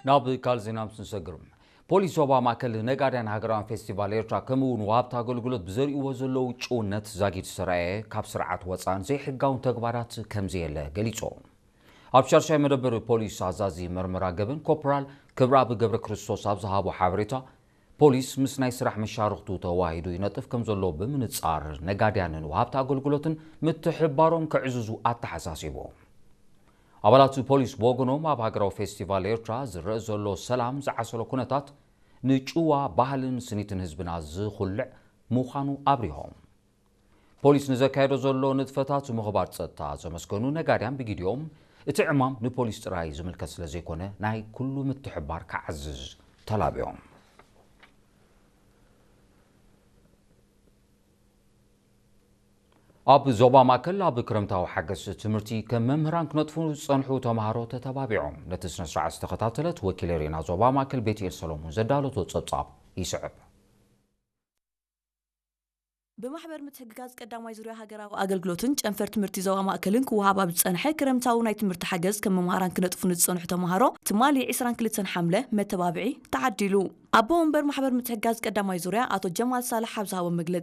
ናብ ካልእ ዜና ምስ ንሰግር፣ ፖሊስ ዞባ ማእከል ነጋድያን ሃገራውያን ፌስቲቫል ኤርትራ ከምኡ እውን ወሃብቲ ኣገልግሎት ብዘርእይዎ ዘለዉ ጭውነት ዛጊድ ዝተራእየ ካብ ስርዓት ወፃእን ዘይሕጋውን ተግባራት ከምዘየለ ገሊጹ። ኣብ ሻርሻይ መደበር ፖሊስ ኣዛዚ መርመራ ገበን ኮፕራል ክብረኣብ ገብረ ክርስቶስ ኣብ ዝሃቦ ሓበሬታ፣ ፖሊስ ምስ ናይ ስራሕ መሻርኽቱ ተዋሂዱ ይነጥፍ ከም ዘሎ ብምንጻር ነጋድያንን ወሃብቲ ኣገልግሎትን ምትሕባሮም ከዕዝዙ ኣተሓሳሲቡ። ኣባላት ፖሊስ ብወገኖም ኣብ ሃገራዊ ፌስቲቫል ኤርትራ ዝረአ ዘሎ ሰላም ዝዓሰሎ ኩነታት ንጭዋ ባህልን ስኒትን ህዝብና ዝኹልዕ ምዃኑ ኣብሪሆም። ፖሊስ ንዘካየዶ ዘሎ ንጥፈታት ምኽባር ጸጥታ ዘመስገኑ ነጋድያን ብጊዲኦም እቲ ዕማም ንፖሊስ ጥራይ ዝምልከት ስለ ዘይኮነ ናይ ኩሉ ምትሕባር ክዓዝዝ ተላብዮም። ኣብ ዞባ ማእከል ኣብ ክረምታዊ ሓገዝ ትምህርቲ ከም መምህራን ክነጥፉ ዝጸንሑ ተምሃሮ ተተባቢዖም። ነቲ ስነ ስርዓት ዝተኸታተለት ወኪል ሬና ዞባ ማእከል ቤትኤል ሰሎሞን ዘዳለቶ ጸብጻብ ይስዕብ። ብማሕበር ምትሕግጋዝ ቀዳማይ ዙርያ ሃገራዊ ኣገልግሎትን ጨንፈር ትምህርቲ ዞባ ማእከልን ክወሃብ ኣብ ዝጸንሐ ክረምታዊ ናይ ትምህርቲ ሓገዝ ከም መምሃራን ክነጥፉ ንዝጸንሑ ተምሃሮ ትማሊ ዕስራን ክልተን ሓምለ መተባብዒ ተዓዲሉ። ኣቦ ወንበር ማሕበር ምትሕግጋዝ ቀዳማይ ዙርያ ኣቶ ጀማል ሳልሕ ኣብ ዝሃቦ መግለጺ፣